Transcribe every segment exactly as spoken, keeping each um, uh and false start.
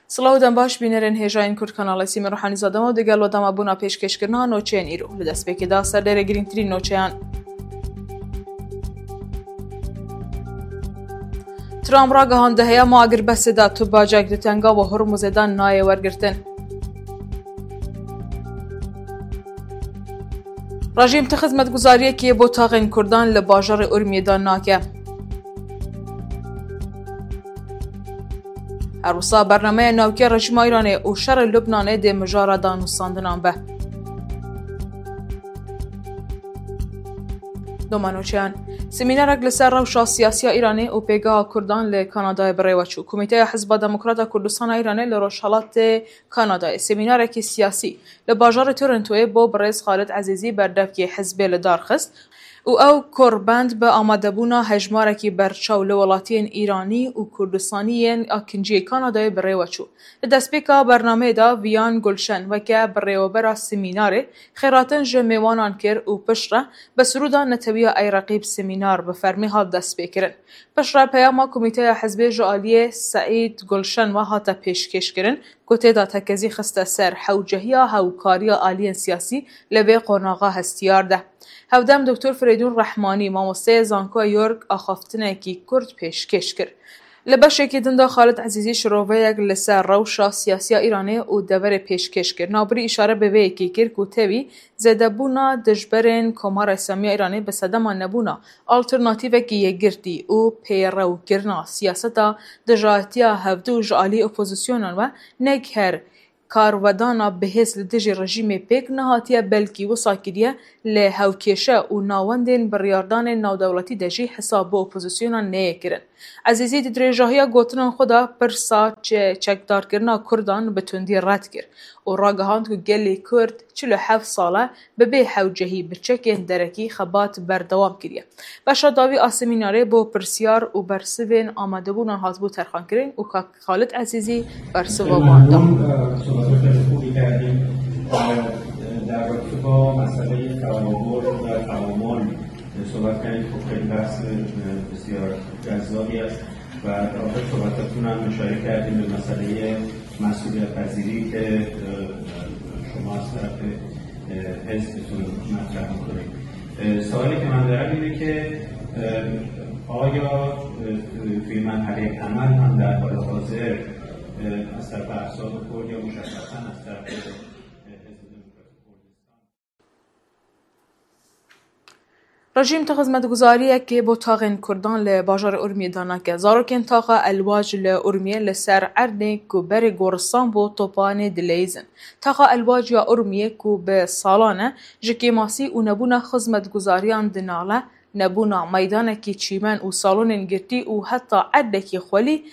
Silav û dem baş, bînerên hêjayên Kurd Kanalê Sîmê Ruhanî Zadema û digel we dema bûna pêşkêşkirina noçeyên îro. Li destpêkê de serdêrê girîngtirîn noçeyan. Trump ragihand di heyama agirbestê de tu bacek di tenga ve Hormuzê de nayê wergirtin. Rejîm ti xizmetguzariyekê bo taxên Kurdan li bajarê Urmiyê de nake. Her wisa bernameya navkiya rejîma Îranê û şerê Lubnanê dê mijara danûstandinan be. Domanoçeyan, semînerek li ser rewşa siyasiya Îranê û pêgeha Kurdan li Kanadayê bi rê ve çû. Komîteya Hizba Demokrata Kurdistana Îranê li Rojhelatê Kanadayê semînarekî siyasî li bajarê Torontoyê bo birêz Xalid Ezîzî berdevkê hizbê li dar xist û ew korbend bi amadebûna hejmarekî berçaw li welatiyên Îranî û Kurdistanî yên akinciyê Kanadayê bi rê ve çû. Li destpêka bernameyê de Viyan Gulşen weke birêwebera semînarê xêratin ji mêwanan kir û piştre bi sirûda netewiya Ey Reqîb semînar bi fermî hat destpêkirin. Piştre peyama Komîteya Hizbê ji aliyê Seîd Gulşen ve hate pêşkêşkirin ku tê de tekezî xiste ser hewcehiya hewkariya aliyên siyasî li vê qonaxa hestiyar de. Hevdem Doktor Firêdûn Rehmanî, mamosteyê zankoya York, axaftinekî kurt pêşkêş kir. Li beşekî din de Xalid Ezîzî şiroveyek li ser rewşa siyasiya Îranê û deverê pêşkêş kir. Navbirî îşare bi vê yekê kir ku tevî zêdebûna dijberên Komara Îslamiya Îranê bi sedema nebûna alternatîvekî yekgirtî û pêrewkirina siyaseta dijahatiya hevdu ji alî opozîsyonan ve neg her karwedana bihêz li dijî rejîmê pêk nehatiye, belkî wisa kiriye li hewkêşe û navendên biryardanên navdewletî de jî hesab bi opozîsyonan neyê kirin. Ezîzî di dirêjahiya gotinan xwe de pirsa çe-, çekdarkirina Kurdan bi tundî red kir û ragihand ku gelê Kurd çil û heft sal e bi bê hewcehî bi çekên derekî xebat berdewam kiriye. Beşa dawî a semînarê bo pirsiyar û bersivên amadebûnan hatibû terxankirin û kak Xalid Ezîzî bersiva wan da. ممنون. اه، صحبت خیلی خوبی کردیم. اه، در رابطه با مسئلهٔ توابر و تعامل صحبت کردیم. خب، خیلی بحث، اه، بسیار جذابی است و در واقع صحبتاتون هم اشاره کردیم به مسئلهٔ مسئولیت پذیری که، اه، شما از طرف، اه، حزبتون مطرح می‌کنید. اه، سوالی که من دارم اینه که، اه، آیا، اه، توی مرحلهٔ عمل هم در حال حاضر، اه، از طرف احزاب کرد یا مشخصاً از طرف، اه، حزب دموکرات کردستان؟ Rejîm ti xizmetguzariyekê bo taxên Kurdan li bajarê Urmiyê de nake. Zarokên taxa Elwac li Urmiyê li ser erdê ku berê goristan bû topanê dileyîzin. Taxa Elwac ya Urmiyê ku bi salan e ji kêmasî û nebûna xizmetguzariyan dinale, nebûna meydanekî çîmen û salonên girtî û heta erdekî xwelî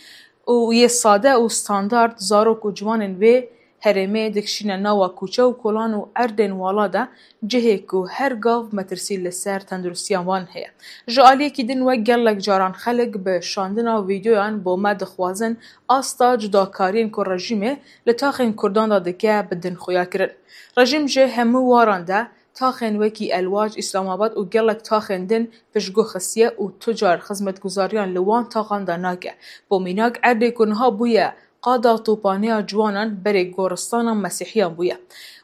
û yê sade û standard zarok û ciwanên vê herêmê dikişîne nawa kûçe û kolan û erdên wala de cihê ku her gav metirsî li ser tenduristiya wan heye. Ji aliyekî din we gelek caran xelk bi şandina vîdeoyan bo me dixwazin asta cudakariyên ku rejîmê li taxên Kurdan de dike bi din xuya kirin. Rejîm ji hemû waran de taxên wekî Elwac, Îslamabad û gelek taxên din piştguh xistiye û tu car xizmetguzariyan li wan taxan de nake. Bo mînak erdê ku niha bûye qada topaniya ciwanan berê goristana mesîhiyan bûye.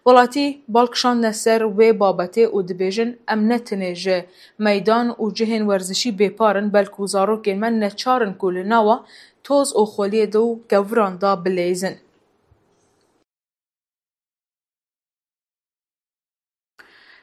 Welatî bal kişandine ser wê babetê û dibêjin, em ne tenê ji meydan û cihên werzişî bêpar in, belkû zarokên me neçar in ku li nawa toz û xweliyê de û keviran de bileyzin.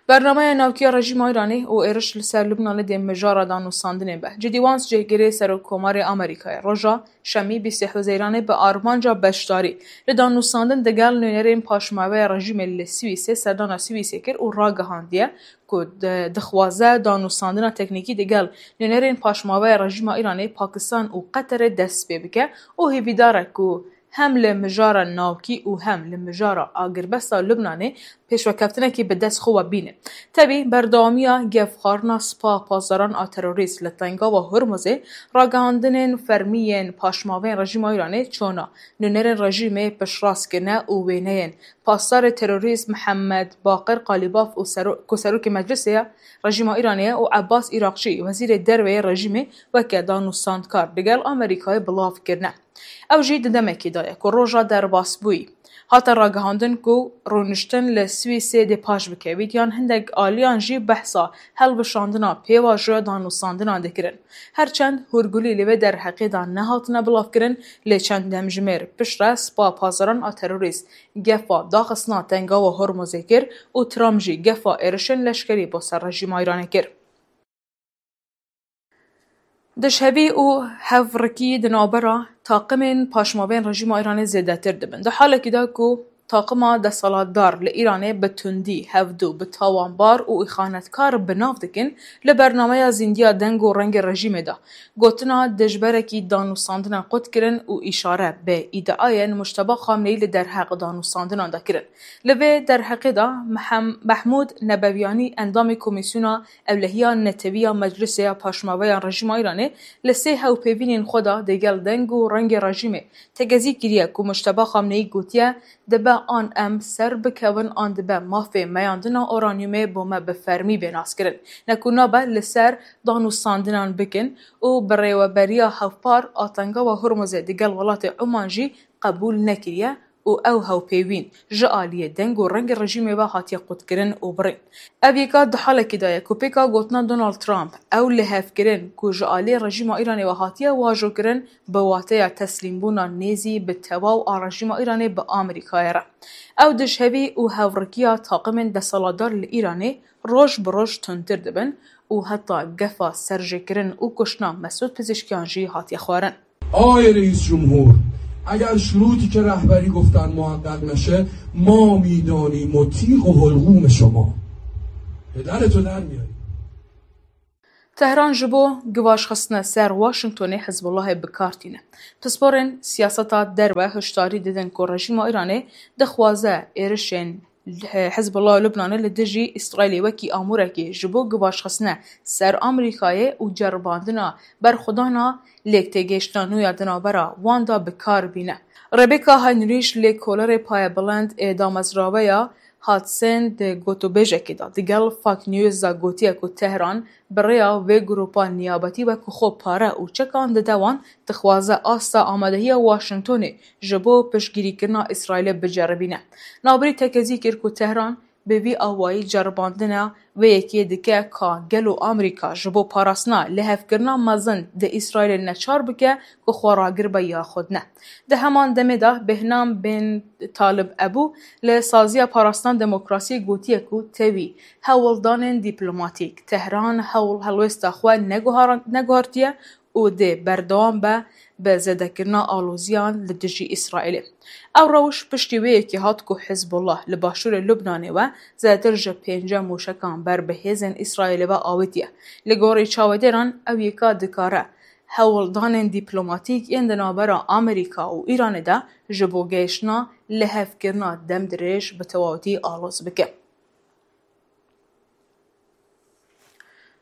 Bernameya navkiya rejîma Îranê û êriş li ser Lubnanê dê mijara danûstandinê be. J D Vance cihgirê Serokkomarê Amerîkayê roja Şemî bîstê Huzeyranê bi armanca beşdarî li danûstandin digel nûnerên paşmaveya rejîmê li Swîsê serdana Swîsê kir û ragihandiye ku di-, dixwaze danûstandina teknîkî digel nûnerên paşmaveya rejîma Îranê, Pakistan û Qeterê dest pê bike û hêvîdar e ku hem li mijara navkî û hem li mijara agirbesta Lubnanê pêşvekeftinekî bi dest xwe ve bîne. Tevî berdewamiya gefxwarina spa pasdaran a terorîst li tengava Hormuzê, ragihandinên fermî yên paşmavên rejîma Îranê çona nûnerên rejîmê piştrast kirine û wêneyên pasdarê terorîst Mihemed Baqir Qalîbaf û sero-, ku serokê meclisê ye rejîma Îranê ye û Ebbas Îraqçî, wezîrê derve yê rejîmê, weke danûstandkar digel Amerîkayê bilav kirine. Ew jî di demekê de ye ku roja derbasbûyî hate ragihandin ku rûniştin li Swîsê dê paş bikevît, yan hindek aliyan jî behsa hilweşandina pêvajoya danûstandinan dikirin. Her çend hûrgulî li vê derheqê de nehatine bilavkirin, lê çend demjimêr piştre spa pazaran a terorîst gefa daxistina Tengawa Hormuzê kir û Trump jî gefa êrişên leşkerî bo ser rejîma Îranê kir. Dijhevî û hevrikî di navbera taqimên paşmavên rejîma Îranê zêdetir dibin. Di halekî de ku taqima desthilatdar li Îranê bi tundî, hevdû, bi tawanbar û îxanetkar bi nav dikin, li bernameya Zîndiya Deng û Rengê Rejîmê de gotina dijberekî danûstandina qut kirin û îşare bi îdiayên Mujteba Xamneyî li derheq danûstandinan de kirin. Li vê derheqê de Mehem-, Mehmûd Nebeviyanî, endamê Komîsyona Ewlehiya Netewî ya Meclisê ya Paşmaveyan Rejîma Îranê, li sê hewpeyvînên xwe de digel Deng û Rengê Rejîmê tekezî kiriye ku Mujteba Xamneyî gotiye, dibe an em ser bikevin an dibe mafê meyandina uranyumê bo me bi fermî bê naskirin, ne ku nabe li ser danûstandinan bikin û birêveberiya hevpar a Tengawa Hurmuzê digel welatê Oman jî qebûl nekiriye û ew hewpeyvîn ji aliyê Deng û Rengê Rejîmê ve hatiye qutkirin û birîn. Ev yeka di halekî de ye ku pêka gotina Donald Trump, ew lihevkirin ku ji aliyê rejîma Îranê ve hatiye wajokirin, bi wateya teslîmbûna nêzî bi tewaw a rejîma Îranê bi Amerîkayê re. Ew dijhevî û hevrikiya taqimên desthilatdar li Îranê roj bi roj tundtir dibin û heta gefa serjêkirin û kuştina Mesûd Pizîşkiyan jî hatiye xwarin. آقای رئیس جمهور، اگر شروطی که رهبری گفتن محقق نشه، ما می‌دانیم و تیغ و حلقوم شما. پدرتو در میاریم. Tehran ji bo givaşxistine ser Washingtonê Hizbullahê bi kar tîne. Pisporên siyaseta derve hişdarî didin ku rejîma Îranê dixwaze êrişên Hizbullah Lubnanê li dijî Îsraîlê wekî amûrekê ji bo givaşxistine ser Amerîkayê û ceribandina berxwedana lêktêgihiştina nû ya di navbera wan de bi kar bîne. Rebecca Heinrich, lêkolerê payebilind ê damezraveya Hudson di gotûbêjekê de digel Fox News de gotiye ku Tehran bi rêya vê grûpa niyabetî wekî xwe pare û çekan dide wan, dixwaze asta amadehiya Washingtonê ji bo piştgirîkirina Îsraîlê biceribîne. Navbirî tekezî kir ku Tehran bi vî awayî ceribandina vê yekê dike ka gelo Amerîka ji bo parastina lihevkirina mezin di Îsraîlê neçar bike ku xwe ragir be ya xwe ne. Di heman demê de Behnam bin Talib Ebû li saziya parastina demokrasiyê gotiye ku tevî hewldanên dîplomatîk Tehran hewl helwêsta xwe neguhar-, neguhartiye û dê berdewam be bi zêdekirina aloziyan li dijî Îsraîlê. Ew rewş piştî wê yekê hat ku Hizbullah li başûrê Lubnanê we zêdetir ji pêncî mûşekan ber bi hêzên Îsraîlê ve awêtiye. Li gorî çavedêran ew yeka dikare hewldanên dîplomatîk yên di navbera Amerîka û Îranê de ji bo gehiştina lihevkirina demdirêj bi tewawetî aloz bike.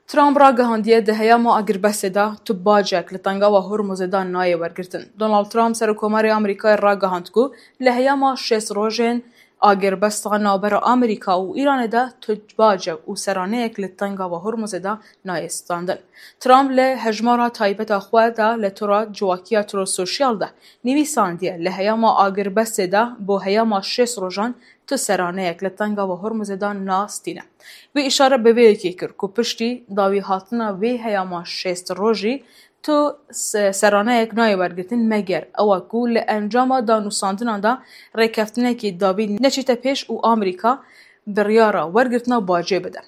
Trump ragihandiye di heyama agirbestê de tu bacek li Tengawa Hormuzê de nayê wergirtin. Donald Trump, Serokkomarê Amerîkayê ragihand ku li heyama şêst rojên agirbesta navbera Amerîka û Îranê de tu bacek û seraneyek li Tengawa Hormuzê de nayê standin. Trump li hejmara taybeta xwe de li tora ciwakiya Truth Social de nivîsandiye, li heyama agirbestê de bo heyama şêst rojan tu seraneyek li Tengawa Hormuzê de nastîne. Wî îşare bi vê yekê kir ku piştî dawî hatina vê heyama şêst rojî tu se-, seraneyek nayê wergirtin, meger ew e ku li encama danûstandinan de rêkeftinekî dawî neçîte pêş û Amerîka biryara wergirtina bacê bide.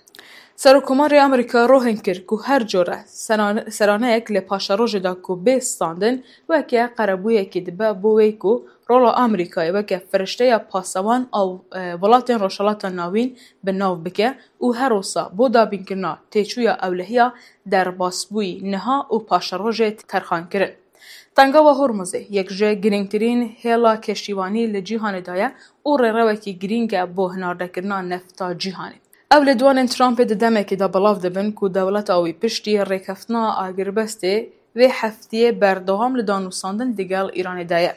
Serokkomarê Amerîka rohin kir ku her cure seran-, seraneyek li paşerojê de ku bê standin weke qerebûyekê dibe bo wê ku rola Amerîkayê weke firişteya pasewan a, e, welatên Rojhilata Navîn bi nav bike û her wisa bo dabînkirina têçûya ewlehiya derbasbûyî niha û paşerojê terxankirin. Tengawa Hormuzê yek ji girîngtirîn hêla keştîvanî li cîhanê de ye û rêrewekî girîng e bo hinardekirina nefta cîhanê. Ew lêdwanên Trumpê di demekê de belav dibin ku dewleta wî piştî rêkeftina agirbestê vê heftiyê berdewam li danûstandin digel Îranê de ye.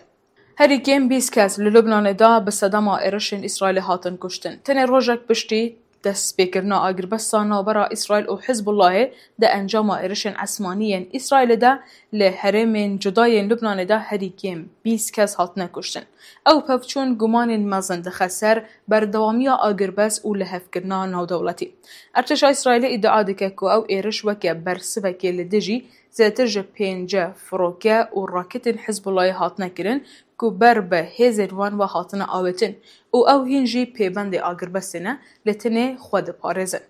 Herî kêm bîst kes li Lubnanê de bi sedema êrişên Îsraîlê hatin kuştin. Tenê rojek piştî Destpêkirina agirbesta navbera Îsraîl û Hizbullahê di encama êrişên esmanî yên Îsraîlê de li herêmên cuda yên Lubnanê de herî kêm bîst kes hatine kuştin. Ew pevçûn gumanên mezin dixe ser berdewamiya agirbest û lihevkirina navdewletî. Ertêşa Îsraîlê îdia dike ku ew êriş weke bersivekê li dijî zêdetir ji pêncî firoke û raketên Hizbullahê hatine kirin ku ber bi hêzên wan ve hatine avêtin û ew hîn jî pêbendê agirbestê ne, lê tenê xwe diparêzin.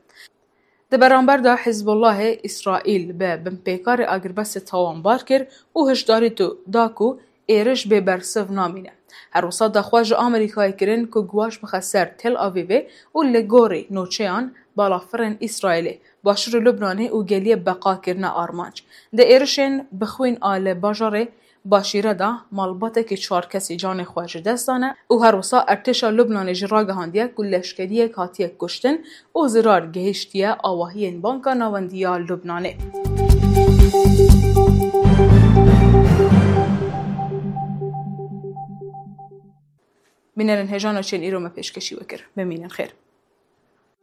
Di beramber de Hizbullahê Îsraîl bi binpêkarê agirbestê tawanbar kir û hişdarî tu da ku êriş bê bersiv namîne. Her wisa daxwaz ji Amerîkayê kirin ku guwaş bixe ser Tel Avîvê û li gorî nûçeyan balafirên Îsraîlê, başûrê Lubnanê û geliyê beqa kirine armanc. Di êrişên bixwîn a li bajarê Başîre de malbatekî çar kesî canê xwe ji dest dane û her wisa ertêşa Lubnanê jî ragihandiye ku leşkeriyek hatiye kuştin û zirar gihiştiye awahiyên Banka Navendî ya Lubnanê. Bînerên hêja, nûçeyên îro me pêşkêşî we kir. Bimînin xêr.